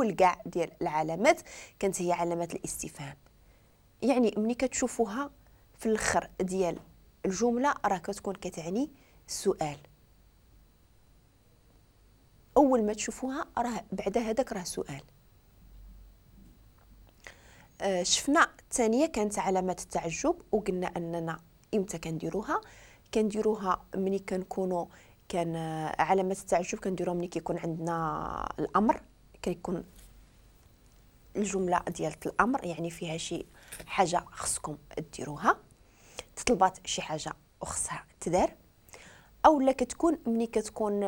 كاع ديال العلامات كانت هي علامات الاستفهام. يعني ملي كتشوفوها في الاخر ديال الجملة راه كتكون كتعني السؤال. اول ما تشوفوها راه بعد هذاك راه سؤال. شفنا الثانية كانت علامات التعجب، وقلنا اننا امتى كنديروها. كنديروها ملي كنكونوا كان علامات التعجب كنديروها ملي كيكون عندنا الامر، كيكون الجملة ديال الامر يعني فيها شي حاجة خصكم ديروها، تطلبات شي حاجة وخصها تدار، او لا كتكون ملي كتكون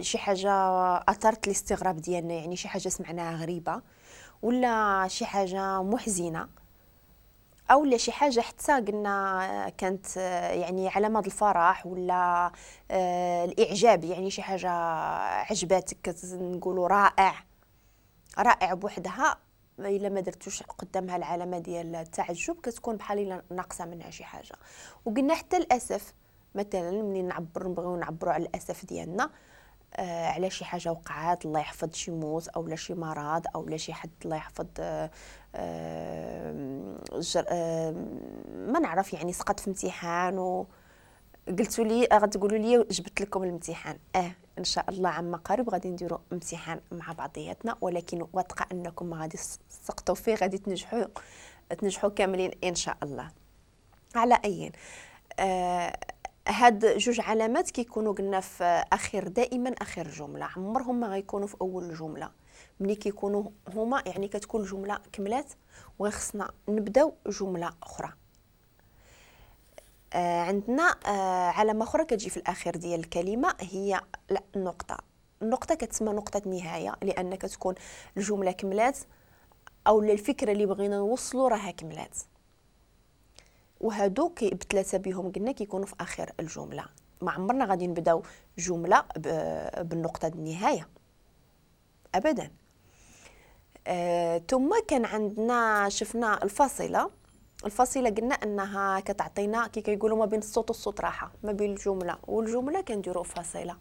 شي حاجة اثرت الاستغراب ديالنا، يعني شي حاجة سمعناها غريبة ولا شي حاجة محزنه، او لا شي حاجة حتى قلنا كانت يعني علامة الفرح ولا الاعجاب، يعني شي حاجة عجباتك نقولوا رائع، رائع بوحدها الا ما درتوش قدامها العلامة ديال التعجب كتكون بحال الا ناقصه منها شي حاجة. وقلنا حتى الاسف مثلا ملي نعبر نبغيو نعبروا على الاسف ديالنا على شي حاجة وقعات، الله يحفظ شي موت او لا شي مرض او لا شي حد الله يحفظ ما نعرف يعني سقط في امتحان وقلتوا لي غتقولوا لي جبت لكم الامتحان. ان شاء الله عما قريب غادي نديروا امتحان مع بعضياتنا، ولكن واثقة انكم ما غادي تسقطوا فيه، غادي تنجحوا كاملين ان شاء الله. على اي هاد جوج علامات كيكونوا قلنا في اخر، دائما اخر جملة، عمرهم ما غيكونوا في اول جملة. ملي كيكونوا هما يعني كتكون الجملة كملات وخصنا نبداو جملة اخرى. عندنا علامة اخرى كتجي في الاخير ديال الكلمة هي النقطة. النقطة كتسمى نقطة نهاية لان كتكون الجملة كملات او الفكرة اللي بغينا نوصلوا راها كملات، وهادو بثلاثة بهم قلنا كيكونوا في اخر الجملة. ما عمرنا غادي نبداو جملة بالنقطة النهاية ابدا. ثم كان عندنا شفنا الفاصلة. الفاصلة قلنا انها كتعطينا كي كيقولوا ما بين الصوت والصوت راحة، ما بين الجملة والجملة كنديروا فاصلة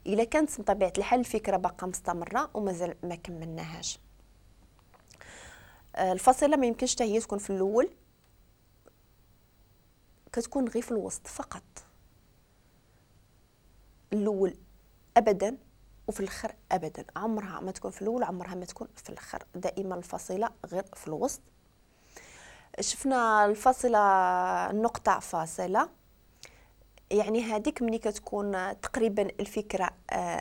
الا كانت بطبيعة الحال الفكرة باقا مستمرة ومازال ما كملناهاش. الفاصلة ما يمكنش حتى هي تكون في الاول، كتكون غير في الوسط فقط، الاول ابدا وفي الاخر ابدا، عمرها ما تكون في الاول عمرها ما تكون في الاخر، دائما الفاصلة غير في الوسط. شفنا الفاصلة النقطة فاصلة، يعني هذيك ملي كتكون تقريبا الفكرة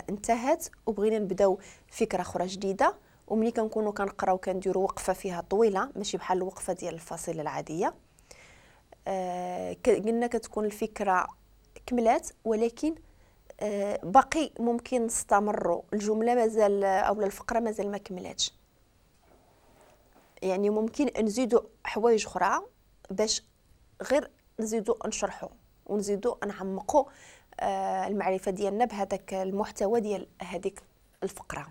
انتهت وبغينا نبداو فكرة اخرى جديدة، وملي كنكونوا كنقراو كنديروا وقفه فيها طويلة ماشي بحال الوقفة ديال الفاصلة العادية. قلنا كتكون الفكرة كملات ولكن باقي ممكن نستمروا، الجملة مازال او الفقرة مازال ما كملاتش، يعني ممكن نزيدوا حوايج اخرى باش غير نزيدوا نشرحوا ونزيدوا نعمقوا المعرفة ديالنا بهذاك المحتوى ديال هذيك الفقرة.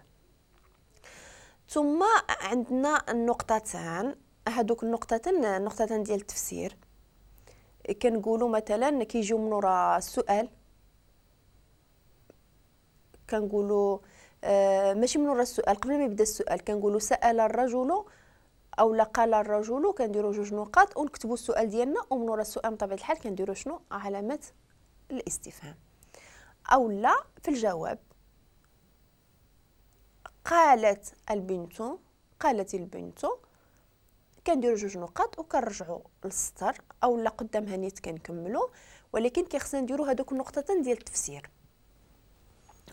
ثم عندنا النقطتان، هذوك النقطتين النقطتان ديال التفسير. كنقولوا مثلا كيجيو من وراء السؤال، كنقولوا ماشي من وراء السؤال، قبل ما يبدا السؤال كنقولوا سأل الرجل او لا قال الرجل، كنديروا جوج نقاط ونكتبوا السؤال ديالنا، ومن وراء السؤال بطبيعة الحال كنديروا شنو؟ علامة الاستفهام. او لا في الجواب قالت البنت، قالت البنت، كنديروا جوج نقاط وكنرجعوا للسطر او لا قدامها نيت كنكملوا، ولكن كيخصنا نديروا هذوك النقطتين ديال التفسير.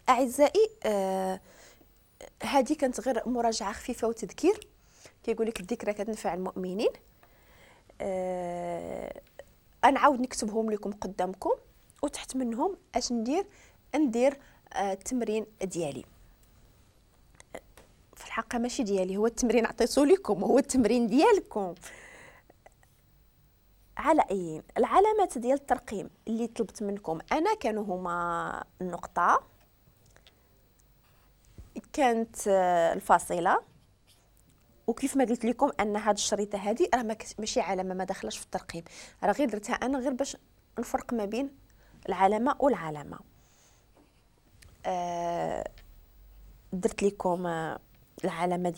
اعزائي هذه كانت غير مراجعه خفيفة وتذكير. كيقول لك الذكرى كتنفع المؤمنين. انا عاود نكتبهم لكم قدامكم وتحت منهم اش ندير؟ ندير التمرين ديالي. في الحقيقة ماشي ديالي، هو التمرين عطيته لكم، هو التمرين ديالكم. على اي العلامات ديال الترقيم اللي طلبت منكم انا كانوا هما النقطة، كانت الفاصلة، وكيف ما قلت لكم ان هاد الشريطه هذه راه ماشي علامة، ما داخلاش في الترقيم، راه غير درتها انا غير باش نفرق ما بين العلامة والعلامة. درت لكم العلامة.